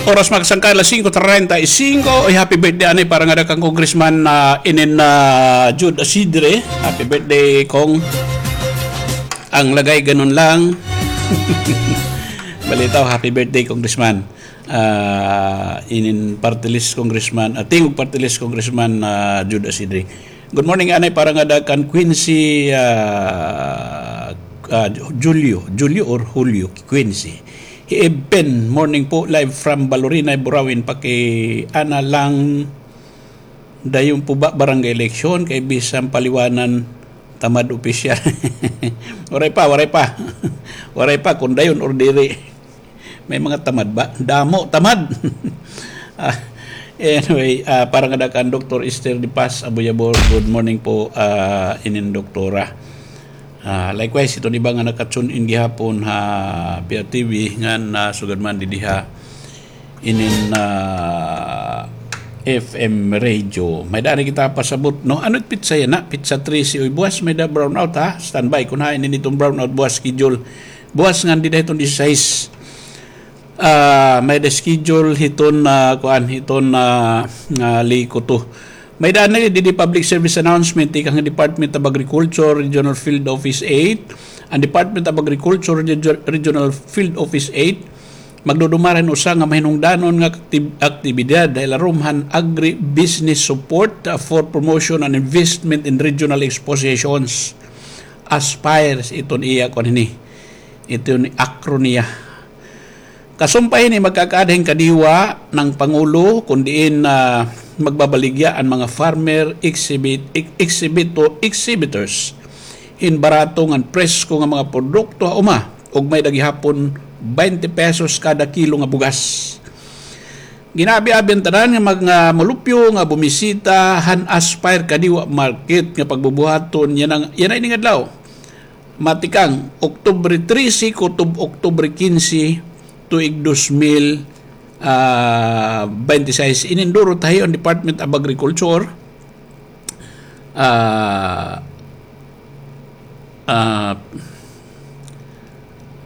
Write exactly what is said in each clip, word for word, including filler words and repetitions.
Oras, mga kasangkayan, alas singko treinta y cinco. Ay, happy birthday anay para ngada kan Congressman, ah, inin, ah, Jude Asidre. Happy birthday, Cong. Ang lagay, ganun lang. Balitaw, happy birthday, Congressman. Ah, inin party list, Congressman, ah, tingog party list, Congressman, ah, Jude Asidre. Good morning anay para ngada kan Quincy, ah, ah, Julio, Julio or Julio Quincy. Hi Eben, morning po, live from Balorinay, Burauen, pakiana lang dayon po ba barangay election kay bisan paliwanan tamad opisyal. Waray pa, waray pa. Waray pa kung dayon or diri. May mga tamad ba? Damo tamad. Ah, anyway, ah, para ngada kan Doktor Esther de Paz Abuyabor, good morning po, ah, inin doktora. Ah, likewise, iton iba nga naka-tune in gihapon ha P R T V ngan, ah, sugad man didi ha inin, ah, F M radio. May-ada anay kita pasabot, no? Ano it pitsa yana? Pitsa trese. Uy, buwas may-ada brownout, ha? Standby kun hain ini iton brownout, buwas schedule. Buwas ngan dida hiton disisais. Ah, may-ada schedule hiton, ah, kuan, hiton, ah, ah, Leyte. May-ada anay didi public service announcement tikang Department of Agriculture, Regional Field Office eight. An Department of Agriculture, Reg-, Regional Field Office eight, magdudumara hin usa nga mahinungdanon nga aktib-, aktibidad ha ilarom han Agribusiness Support, ah, for Promotion and Investment in Regional Expositions. Aspire iton iya kuan hini. Iton acronym niya. Kasumpay hini, magkakaada hin kadiwa han Pangulo kun diin, ah, magbabaligya an mga farmer exhibit, ex-, exhibito-, exhibitors hin barato ngan presko nga mga produkto ha uma, ug may-ada gihapon baynte pesos kada kilo nga bugas. Gin-aabi-abi an tanan nga mga molupyo nga bumisita han Aspire Kadiwa Market nga pagbubuhaton yana, yana ini nga adlaw. Matikang Oktubre trese kutob Oktubre kinse, tuig dos mil, ah, baynte sais. Ininduro tayo an Department of Agriculture. Ah, ah,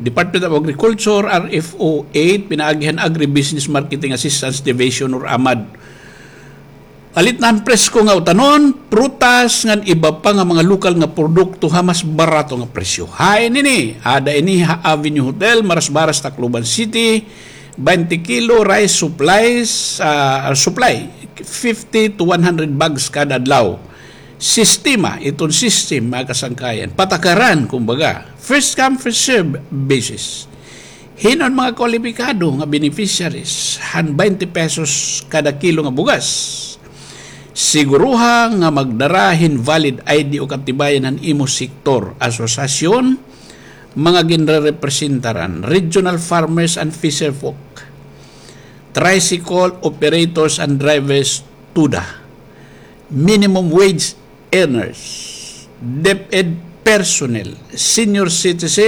Department of Agriculture, R F O eight, pinaagi han Agribusiness Marketing Assistance Division or amad. Alit na han presko nga utanon, prutas, ngan iba pa nga mga lokal nga produkto ha mas barato nga presyo. Hain ini? Ada ini ha Avenue Hotel, Marasbaras, Tacloban City. Baynte kilo rice supplies, ah, supply, fifty to one hundred bags kada adlaw. Sistema, iton system, mga kasangkayan. Patakaran, kumbaga. First come, first serve basis. Hin-o an mga kwalipikado nga beneficiaries han baynte pesos kada kilo nga bugas? Siguruha nga magdara hin valid I D o katibayan han imo sektor, asosasyon, mga ginrerepresentaran, regional farmers and fisherfolk, tricycle operators and drivers, TUDA, minimum wage earners, DepEd personnel, senior citizen,